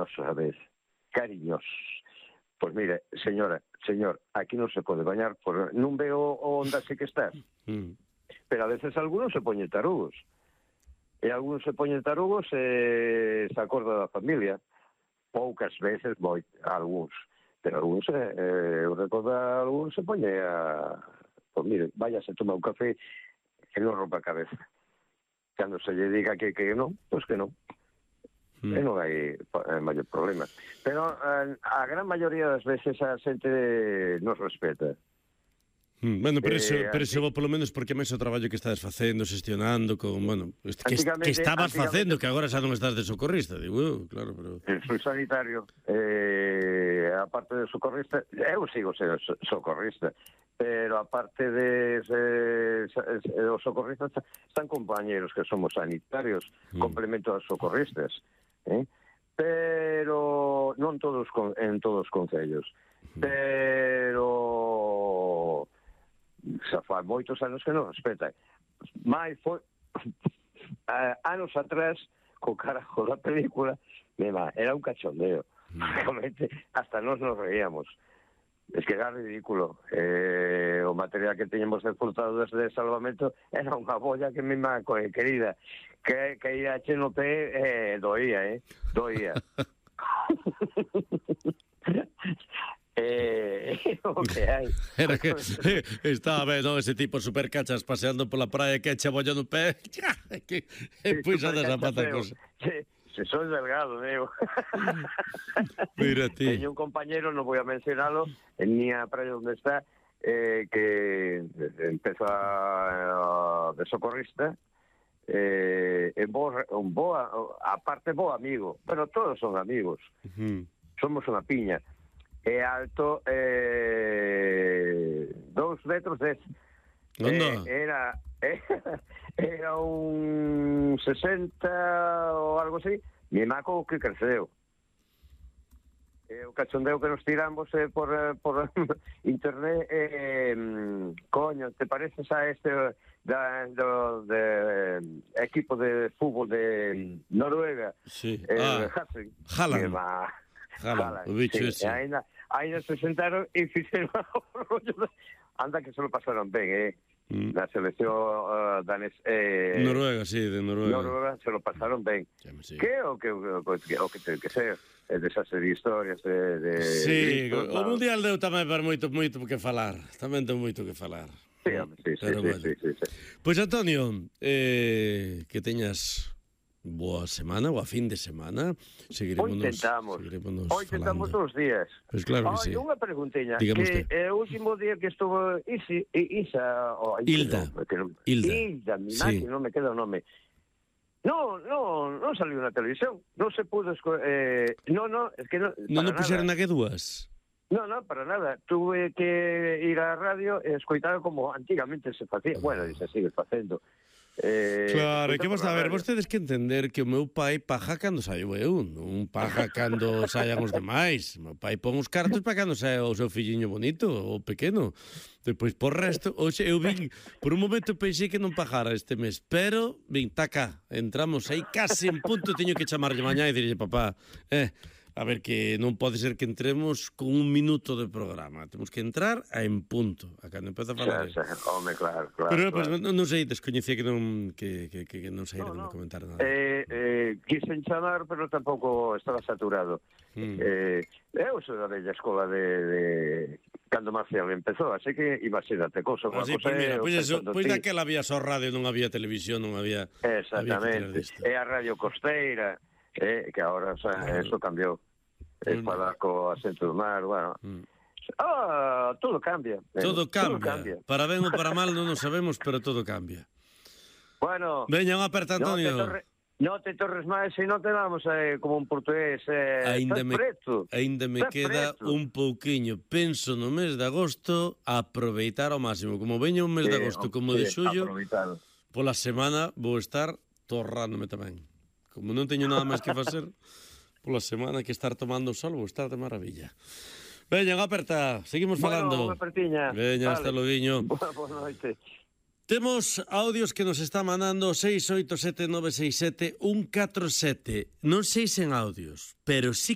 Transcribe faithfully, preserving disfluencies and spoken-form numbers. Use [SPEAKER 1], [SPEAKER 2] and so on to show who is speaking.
[SPEAKER 1] cariñosos a veces, cariñosos. Pois mire, señora, señor, aquí non se pode bañar, por non veo onde así que estás.
[SPEAKER 2] Mm.
[SPEAKER 1] Pero a veces algunos se poñen tarugos. E algunos se poñen tarugos e se acorda da familia. Poucas veces, moi, algúns. Pero algúns, eh, eu recordo a algúns se poñe a... Pois mire, váyase a tomar un café que non rompa a cabeza. Cando se lle diga que, que non, pois que non. Mm. E non hai eh, maior problema. Pero eh, a gran maioría das veces a xente nos respeta.
[SPEAKER 2] Mm, bueno, pero eso,
[SPEAKER 1] eh,
[SPEAKER 2] pero eso vos polo menos porque máis o traballo que estades facendo, xestionando con, bueno, que, que estabas facendo, que agora xa non estás de socorrista, digo, eu, claro, pero...
[SPEAKER 1] Soy sanitario, eh, aparte de socorrista, eu sigo sendo socorrista, pero aparte de eh, os socorristas están compañeros que somos sanitarios, mm. complemento aos socorristas, eh? Pero non todos en todos os concellos, mm. pero xa fai moitos anos que non respetan. Mais foi anos atrás, co carajo da película, mema, era un cachondeo, realmente hasta nos nos reíamos. Es que era ridículo. Eh, o material que teñemos exportado desde salvamento era unha bolla que mi má querida, que, que ia che no pé, eh, doía, eh, doía. eh, o que hai.
[SPEAKER 2] Era que eh, estaba ben, no, ese tipo super cachas paseando pola praia que echa bolla no pé, que e pois a desapata cosa.
[SPEAKER 1] Sí. Se soy delgado, digo.
[SPEAKER 2] Mira ti.
[SPEAKER 1] Teño un compañero, non vou a mencionalo, en miña praia onde está, eh, que empezó a, a, de socorrista, eh, en bo, un boa, aparte bo amigo. Bueno, todos son amigos. Uh-huh. Somos unha piña. É alto eh, dous metros dez. Eh, era... era un sesenta ou algo así, mi maco que creceu. E o cachondeo que nos tiramos eh, por, por internet, eh, coño, te pareces a este da, do, de, equipo de fútbol de Noruega?
[SPEAKER 2] Sí.
[SPEAKER 1] Eh,
[SPEAKER 2] ah, Haaland. Haaland, o bicho
[SPEAKER 1] sí.
[SPEAKER 2] ese.
[SPEAKER 1] Ainda, ainda se sentaron e fixeron anda que se lo pasaron ben, eh? Mm. Na selección uh, danés eh,
[SPEAKER 2] Noruega, sí, de Noruega.
[SPEAKER 1] Noruega se lo pasaron ben.
[SPEAKER 2] Sí.
[SPEAKER 1] Que o que o que, o que ten que ser é desas historias de, de
[SPEAKER 2] sí,
[SPEAKER 1] de,
[SPEAKER 2] o mundial deu tamén para moito moito que falar. Tamén deu moito que falar.
[SPEAKER 1] Sí, hombre, sí, sí, sí,
[SPEAKER 2] bueno.
[SPEAKER 1] sí, sí, sí.
[SPEAKER 2] Pois pues, Antonio, eh, que teñas boa semana, boa fin de semana. Seguiremos
[SPEAKER 1] Hoy intentamos.
[SPEAKER 2] Seguiremos
[SPEAKER 1] Hoy intentamos todos os días.
[SPEAKER 2] Pois pues claro que
[SPEAKER 1] oh,
[SPEAKER 2] sí.
[SPEAKER 1] Unha preguntiña,
[SPEAKER 2] Dígame
[SPEAKER 1] que
[SPEAKER 2] usted.
[SPEAKER 1] é o último día que estuvo Isi, Isa, oh,
[SPEAKER 2] Hilda.
[SPEAKER 1] No, que non,
[SPEAKER 2] Hilda.
[SPEAKER 1] Hilda, mi
[SPEAKER 2] sí.
[SPEAKER 1] máquina, non me queda o nome. No, no, non saliu na televisión. Non se pudo esco- eh, no, no, es que no,
[SPEAKER 2] Non non puxeron na que dúas.
[SPEAKER 1] No, no, para nada. Tuve que ir á radio e escoitar como antigamente se facía. Bueno, e se sigue facendo. Eh,
[SPEAKER 2] claro, que vos a ver, vos tedes que entender que o meu pai paja cando saio eu, non paja cando saian os demais. O meu pai pon os cartos para cando saia o seu filliño bonito, o pequeno. Depois, por resto, hoxe eu vin, por un momento pensei que non pajara este mes, pero, vin, taca, entramos aí case en punto, teño que chamarlle mañá e dirlle, papá, eh, a ver, que non pode ser que entremos con un minuto de programa. Temos que entrar a en punto, a cando empeza a falar.
[SPEAKER 1] Xa, xa, home, claro, claro.
[SPEAKER 2] Pero,
[SPEAKER 1] claro.
[SPEAKER 2] pues, non, non sei, descoñecía que non que, que, que non sei
[SPEAKER 1] no,
[SPEAKER 2] de
[SPEAKER 1] no.
[SPEAKER 2] comentar nada.
[SPEAKER 1] Eh, eh, quisen chamar, pero tampouco estaba saturado. Mm. Eh, eu sou da bella escola de, de cando Marcial empezou, así que iba a ser até cousa.
[SPEAKER 2] Ah, sí, pues mira, pois pues pois daquela había só radio, non había televisión, non había...
[SPEAKER 1] Exactamente,
[SPEAKER 2] había
[SPEAKER 1] e a radio costeira, eh, que agora, o sea, claro. Eso cambiou. El falar co acento do mar, bueno. Mm. Ah, todo cambia.
[SPEAKER 2] Todo cambia. Todo cambia. Para ben ou para mal non o sabemos, pero todo cambia.
[SPEAKER 1] Bueno.
[SPEAKER 2] Veña, unha aperta, Antonio.
[SPEAKER 1] No te, torre, no te torres máis e non te damos eh, como un portugués. Eh,
[SPEAKER 2] ainda me,
[SPEAKER 1] preto.
[SPEAKER 2] Ainda me
[SPEAKER 1] estás
[SPEAKER 2] queda
[SPEAKER 1] preto.
[SPEAKER 2] Un pouquiño. Penso no mes de agosto aproveitar ao máximo. Como veña un mes sí, de agosto, como sí, de xullo, pola semana vou estar torrándome tamén. Como non teño nada máis que facer... Pola semana que estar tomando sol, vou estar de maravilla. Veña, aperta, seguimos falando.
[SPEAKER 1] Bueno, unha apertiña.
[SPEAKER 2] Veña, vale. Hasta loguiño.
[SPEAKER 1] Boa noite.
[SPEAKER 2] Temos audios que nos está mandando seis oito sete nove seis sete un catro sete. Non sei sen audios, pero sí